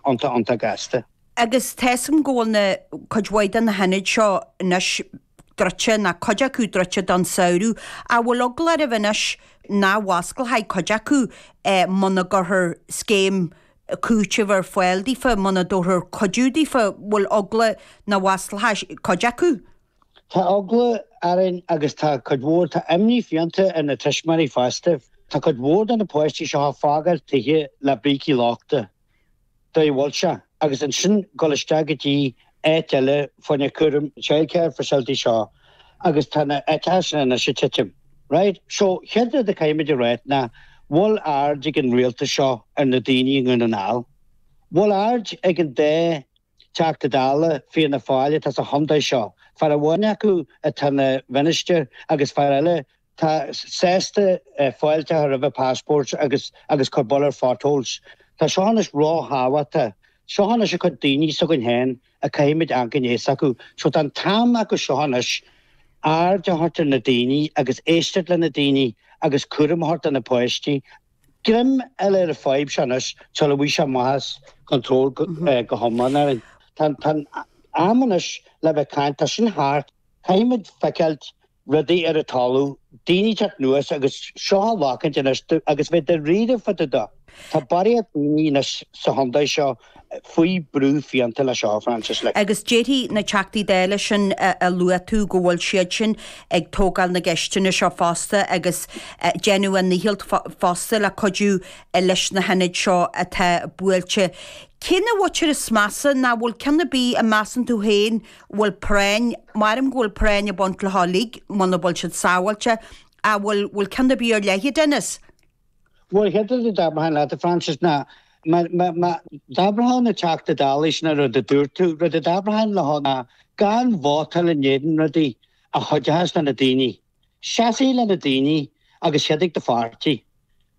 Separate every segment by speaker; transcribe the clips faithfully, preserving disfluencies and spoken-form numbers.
Speaker 1: iontach iontach gasta.
Speaker 2: Agus tá a fhios agam go bhfuil na cuid mhaith de na hionaid seo anois druidte, nó cuid acu druidte don samhradh. An bhfuil eagla oraibh anois nach bhfosclóidh cuid acu muna gcuirfear scéim cúitimh ar fáil daofa, muna dtabharfar cuidiú daofa, bhfuil eagla nach bhfosclóidh cuid acu?
Speaker 1: Tá eagla orainn agus tá cuid mhór, tá imní fiánta ar na tuismitheoirí fosta. Tá cuid mhór de na páistí seo ag fágáil tithe le brící lochta. Dóigh a bhfuil sé. Agus ansin dul isteach go dtí áit eile fá choinne cúram, childcare facility seo agus tá na áiteacha sin anois ag titim. Right? So, chéad rud a caithfimid a ráit ná bhfuil aird ag an rialtas seo ar na daoine i nDún na nGall? Bhfuil aird ag an dá Teachta Dála Fianna Fáil atá sa chontae seo, fear amháin acu atá ina mhinistir agus fear eile tá sásta fáilte a chur roimhe passports agus agus cur buille ar potholes. Tá seo anois ró-thábhachtach. Seo anois a cuid daoine s'againn féin a caithfimid amharc i ndiaidh s'acu. So tá an t-am acu seo anois aird a thabhairt ar na daoine agus éisteacht le na daoine agus cúram a thabhairt do na páistí. Greim a fháil ar an fadhb seo anois sula bhfuil sé amach as control go hiomlán orainn. Tá an am anois le bheith caint, tá sin thart, caithfimid feiceáilt rudaí ar an talamh, daoine teacht anuas agus seo a ghlacaint anois agus bheith dáiríre fá dtaobh de. Tá barraíocht daoine anois sa chontae seo faoi brú fiánta le seo, Frances. Like.
Speaker 2: Agus déarfaidh na Teachtaí Dála sin a luaigh tú go bhfuil siad sin ag tógáil na gceisteanna seo fosta agus déanamh a ndícheall fosta le cuidiú leis na hionaid seo atá buailte. Cé na bhfaightear is measa ná bhfuil ceann ar bith a measann tú féin bhfuil práinn, maram go bhfuil práinn ag baint leo uilig muna bhfuil siad sábháilte, a bhfuil bhfuil ceann ar bith ar leith, a Dennis?
Speaker 1: Bhuel, chéad rud a d'abrfainn leat, a Frances, ná má d'abrfá na Teachta Dála sin an rud a dúirt tú, rud a d'abrfainn leo ná gan vótáil in éadan rudaí a chuideochas le na daoine. Seasaigh le na daoine agus cheadaigh do pháirtí.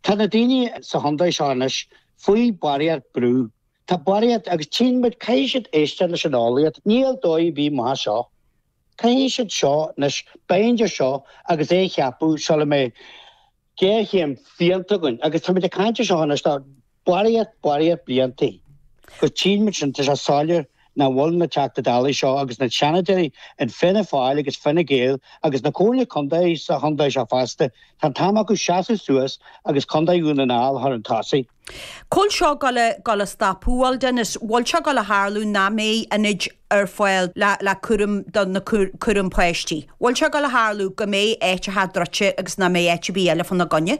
Speaker 1: Tá na daoine sa chontae seo anois faoi barraíocht brú. Tá barraíocht agus tchíonn muid, caithfidh siad éisteacht leis an eolaíocht. Níl dóigh ar bith amach as seo. Caithfidh siad seo anois, bind ar seo agus é a cheapadh sula mbeidh géarchéim fiánta againn. Agus táimid ag caint ar seo anois le barraíocht, barraíocht bliantaí. Agus tchíonn muid sin, tá sé soiléir nach bhfuil na Teachta Dálaí seo agus na Seanadóirí in Fianna Fáil agus Fine Gael agus na Comhairle Contae sa chontae seo fosta, tá an t-am acu seasamh suas agus Contae Dhún na nGall a chur chun tosaigh.
Speaker 2: Cá bhfuil seo ag dul a stopadh, bhfuil Dennis, bhfuil seo ag dul a tharlú nach mbeidh ionaid ar fáil le le cúram do na cúram páistí? Bhfuil seo ag dul a tharlú go mbeidh áiteacha druidte agus nach mbeidh áit ar bith eile fána gcoinne?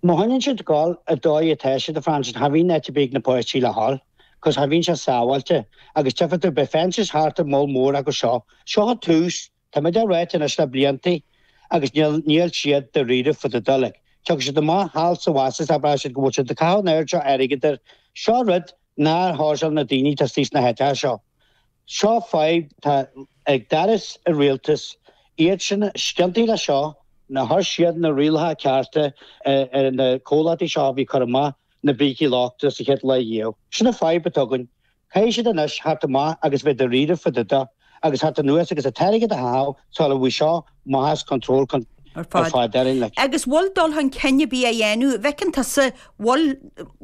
Speaker 1: Má choinníonn siad ag dul an dóigh atá siad, a Frances, cha bhíonn áit ar bith ag na páistí le dhul, cos cha bhíonn sé sábháilte agus tchífidh tú, beidh fences thart ar moll mór acu seo. Seo an tús, tá muid á ráit anois le bliantaí agus níl, níl siad dáiríre fá dtaobh de like. Tiocfaidh siad amach thall sa bhas is abróidh siad go bhfuil siad ag caitheamh an oiread seo airgid air. Seo rud nár shóirseáil na daoine atá istigh sna háiteacha seo. Seo fadhb atá ag doras an rialtais, iad sin ciontaithe le seo, nár chuir siad na rialacha cearta ar na comhlachtaí seo a bhí ag cur amach na brící lochta sa chéad lá riamh. Sin an fadhb atá againn. Caithfidh siad anois theacht amach agus bheith dáiríre fá dtaobh de agus theacht anuas agus an t-airgead a chaitheamh sula bhfuil seo amach as control
Speaker 2: ar fad.
Speaker 1: Ar fad.
Speaker 2: Agus bhfuil dul chun cinn ar bith á dhéanamh, bhfeiceann tusa, bhfuil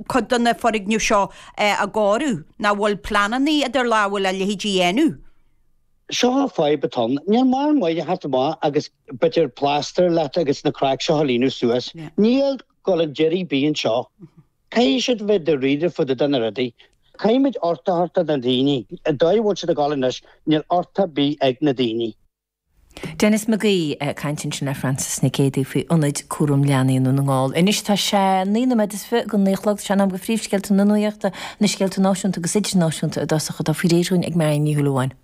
Speaker 2: cuid de na foirgnimh seo á gcóiriú, nó bhfuil pleananna idir lámha le leithéidí a dhéanamh?
Speaker 1: Seo an fadhb atá ann. Níl mórán maith a theacht amach agus b'fhéidir plaster leat agus na craics seo a líonadh suas. Níl dul chun deiridh ar bith anseo. Caithfidh siad bheith dáiríre fá dtaobh de na rudaí. Caithfimid uchtach a thabhairt do na daoine. An dóigh a bhfuil siad ag dul anois, níl uchtach ar bith ag na daoine.
Speaker 3: Denis McGee ag caint ansin le Frances Nic Géadaigh faoi ionaid cúram leanaí i nDún na nGall. Anois tá sé naoi nóiméad is fiche go naoi a chlog, sé an am go phríomhscéalta na nuachta, na scéalta náisiúnta agus idirnáisiúnta i dtosach atá faoi réir dhúinn ag Marion Ní Shúilleabháin.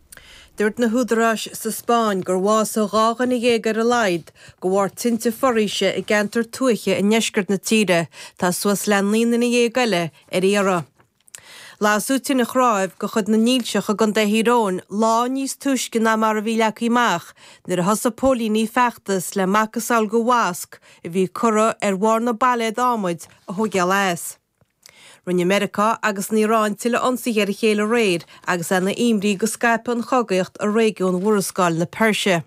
Speaker 4: Dúirt na húdaráis sa Spáinn gur bhásaigh dhá dhuine dhéag ar a laghad de bharr tinte foraoise i gceantar tuaithe i ndeisceart na tíre. Tá suas le naoi nduine dhéag eile ar iarraidh. Lasadh tine chnáimh de chuid na nDílseach i gContae Thír Eoghain lá níos túisce ná mar a bhí leagtha amach nuair a thosaigh póilíní feachtas le macasamhail de mhasc a bhí curtha ar bharr na bpailléad adhmaid a thógáil as. Rinne Meiriceá agus an Iaráin tuilleadh ionsaithe ar a chéile aréir agus é ina imní go scaipfidh an chogaíocht i réigiún Mhurascaill na Peirse.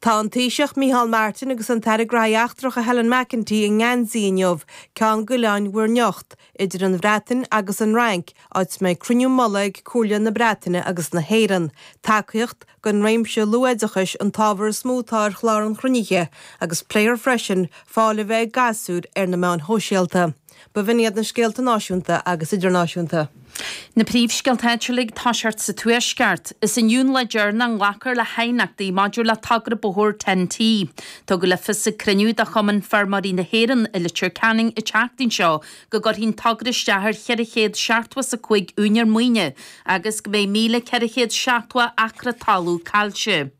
Speaker 4: Tá an Taoiseach Micheál Martin agus an tAire Gnóthaí Eachtracha Helen McEntee i nGuernsey inniu, ceann d'oileáin Mhuir nIocht, idir an Bhreatain agus an Fhrainc, áit a mbeidh cruinniú mullaigh ag Comhairle na Breataine agus na hÉireann. Tacaíocht don réimse luathoideachais an t-ábhar is mó atá ar chlár an chruinnithe, agus pléifear freisin fáil a bheith ag gasúir ar na meáin shóisialta. B'in iad na scéalta náisiúnta agus idirnáisiúnta.
Speaker 5: Na príomhscéalta áitiúla ag toiseacht sa Tuaisceart. Is inniu an lá deireanach a nglacfar le haighneachtaí maidir le togra bóthair Ten T. Tugadh le fios ag cruinniú de Chumann Feirmeoirí na hÉireann i Leitir Ceanainn an tseachtain seo go gcuirfidh an togra isteach ar cheithre chéad seachtó is a cúig úinéir maoine agus go mbeidh míle ceithre chéad seachtó acra talún caillte.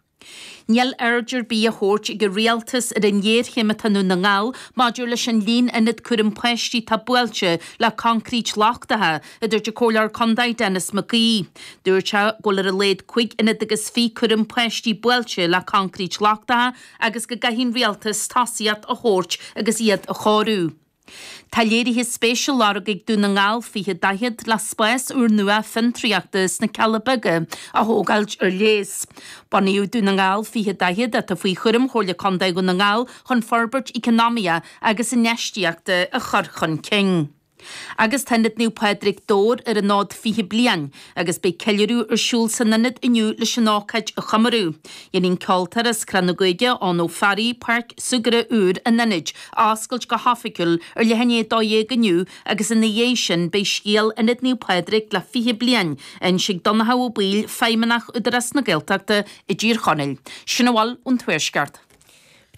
Speaker 5: Níl aird ar bith á thabhairt ag an rialtas ar an ghéarchéim atá i nDún na nGall maidir leis an líon ionad cúram páistí atá buailte le coincréit lochtaithe, a dúirt an Comhairleoir Contae Denis McGee. Dúirt sé go bhfuil ar a laghad cúig ionad agus fiche cúram páistí buailte le coincréit lochtaithe agus go gcaithfidh an rialtas tosaíocht a thabhairt agus iad a chóiriú. Tá léirithe spéise á lorg ag Dún na nGall fiche daichead le spás úrnua fiontraíochta sna Cealla Beaga a thógáilt ar léas. Bunaíodh Dún na nGall fiche daichead atá faoi chúram Chomhairle Contae Dhún na nGall chun forbairt eacnamaíoch agus infheistíochta a chur chun cinn. Agus tá Ionad Naomh Pádraig Dobhair ar an fhód fiche bliain agus beidh ceiliúradh ar siúl san ionad inniu leis an ócáid a chomóradh. Déanfaidh an ceoltóir as Crann na Gaoithe, Eoin Ó Fearraigh, páirc súgartha úr an ionaid a oscailt go hoifigiúil ar leath i ndiaidh a dó dhéag inniu agus ina dhiaidh sin beidh scéal Ionad Naomh Pádraig le fiche bliain á inse ag Donncha Ó Baoill, Feidhmeannach Údarás na Gaeltachta i dTír Chonaill. Sin a bhfuil ón Tuaisceart.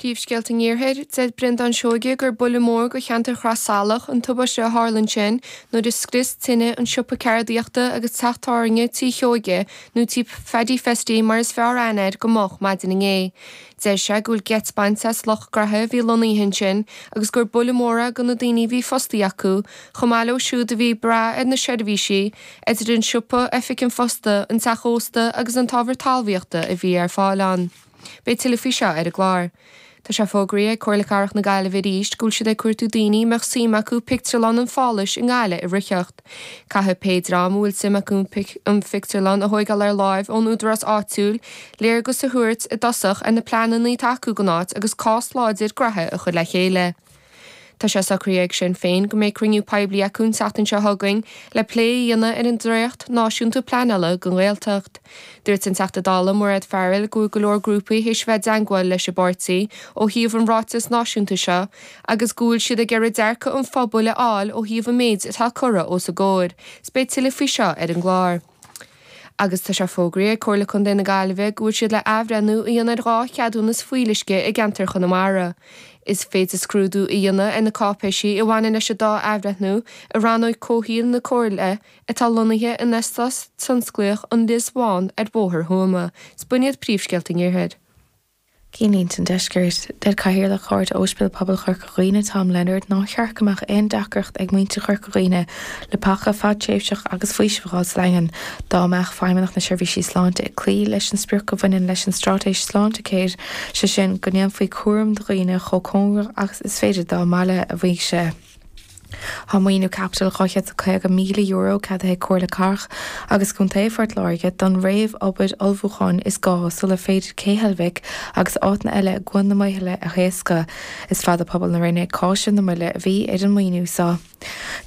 Speaker 6: Príomhscéalta an Iarthair, deir Breandán Seoige gur buille mór do cheantar Chrois Salach an tubaiste a tharla ansin nuair a scrios tine an siopa ceardaíochta agus teach tábhairne Tí Sheoige nó Tí Phaddy Festy mar is fearr aithne air go moch maidin inné. Deir sé go bhfuil geit bainte as lucht graithe a bhí lonnaithe ansin agus gur buille mór é do na daoine a bhí fostaithe acu, chomh maith leo siúd a bhí ag brath ar na seirbhísí, idir an siopa, oifig an phosta, an teach ósta agus an t-ábhar talmhaíochta a bhí ar fáil ann. Beidh tuilleadh faoi seo ar an gclár. Tá sé fógraithe ag Comhairle Cathrach na Gaillimhe arís go bhfuil siad ag cuartú daoine a mbeadh suim acu pictiúrlann an Pháláis i nGaillimh a ritheacht. Caithfidh pé dream a bhfuil suim acu an phictiúrlann a thógáil ar láimh ón údarás áitiúil léargas a thabhairt i dtosach ar na pleananna atá acu don áit agus cás láidir graithe a chur le chéile. Tá sé socraithe ag Sinn Féin go mbeidh cruinniú poiblí acu an tseachtain seo chugainn le plé a dhéanamh ar an dréacht náisiúnta pleanála don Ghaeltacht. Dúirt an Teachta Dála Mairéad Farrell go bhfuil go leor grúpaí théis bheith i dteagmháil leis an bpáirtí ó thaobh an ráiteas náisiúnta seo agus go bhfuil siad ag iarraidh dearcadh an phobail a fháil ó thaobh an méid atá curtha os a gcomhair. 'S beidh tuilleadh faoi seo ar an gclár. Agus tá sé fógraithe ag Comhairle Contae na Gaillimhe go bhfuil siad le athbhreithniú a dhéanamh ar dhá cheadúnas fuíolluisce i gceantar Chonamara. Is féidir scrúdú a dhéanamh ar na cáipéisí a bhaineann leis an dá athbhreithniú i rannóg comhshaoil na Comhairle atá lonnaithe in Eastát Tionsclaíoch an Lios Bhán ar Bhóthar Thuama. 'S b'in iad príomhscéalta an Iarthair.
Speaker 7: Cinnlínte an Deiscirt, Deir Cathaoirleach Chairde Ospidéal Pobail Chorca Dhuibhne Tom Leonard nár cheart go mbeadh aon deacracht ag muintir Chorca Dhuibhne le paca fadtréimhseach agus faoiseamh a fháil sa Daingean dá mbeadh Feidhmeannacht na Seirbhísí Sláinte ag cloí leis an sprioc a bhaineann leis an straitéis Sláintecare, sé sin go ndéanfaí cúram do dhaoine chomh cóngarach agus is féidir dá mbaile, a mhaígh sé. Tá maoiniú caipitil dhá chéad is caoga míle euro ceadaithe ag Comhairle Cathrach agus Contae Phort Láirge don réamh-obair ullmhúcháin is gá sular féidir Cé Heilbhic agus áiteanna eile i gCuan na Maothaile a thaoscadh. Is fada pobal na Rinne ag cáiseamh na moille a bhí ar an maoiniú seo.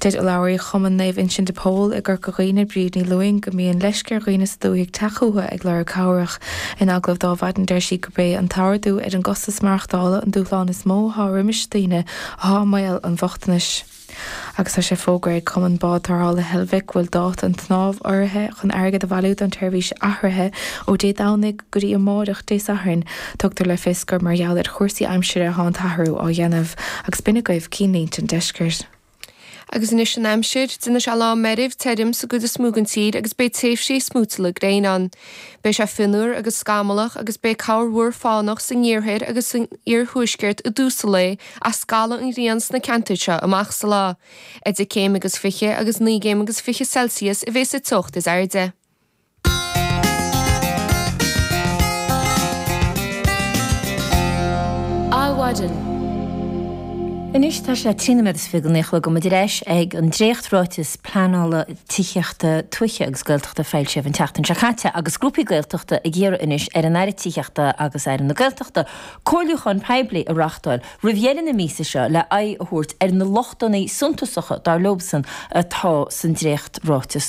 Speaker 7: Deir urlabhraí Chumann Naomh Uinseann de Pól i gCorca Dhuibhne, Bríd Ní Lúing, go mbíonn leisce ar dhaoine sa dúthaigh teacht chucu ag lorg cabhrach. In agallamh dó ar maidin deir sí gurb é an t-ardú ar an gcostas maireachtála an dúshlán is mó atá roimis daoine atá i mbaol an bhochtanais. Agus tá sé fógraithe ag Cumann Bád Tarrthála Heilbhic go bhfuil dáta an tsnámh urraithe chun airgead a bhailiú don tseirbhís athraithe ó Dé Domhnaigh go dtí amáireach Dé Sathairn. Tugtar le fios gur mar gheall ar chúrsaí aimsire atá an t-athrú á dhéanamh. Agus b'in agaibh cinnlínte an deiscirt.
Speaker 6: Agus anois an aimsir, déanfaidh sé lá meirbh tirim sa gcuid is mó den tír agus beidh tréimhsí smúiteála gréine ann. Beidh sé fionnuar agus scamallach agus beidh corrmhúr fánach san iarthar agus san iarthuaisceart i dtús an lae ach scalfaidh an ghrian sna ceantair seo amach sa lá. Idir céim agus fiche agus naoi gcéim agus fiche Celsius a bheas sa teocht is airde.
Speaker 8: Adhmhaidin.
Speaker 3: Anois tá sé trí nóiméad is fiche go naoi a chlog muid ar ais ag an dréacht-ráiteas pleanála tithíochta tuaithe agus Gaeltachta a foilsíodh an tseachtain seo caite agus grúpaí Gaeltachta ag iarraidh anois ar an Aire Tithíochta agus Aire na Gaeltachta comhairliúchán poiblí a reáchtáil roimh dheireadh na míosa seo le aghaidh a thabhairt ar na lochtanna suntasacha dar leosan atá san dréacht-ráiteas.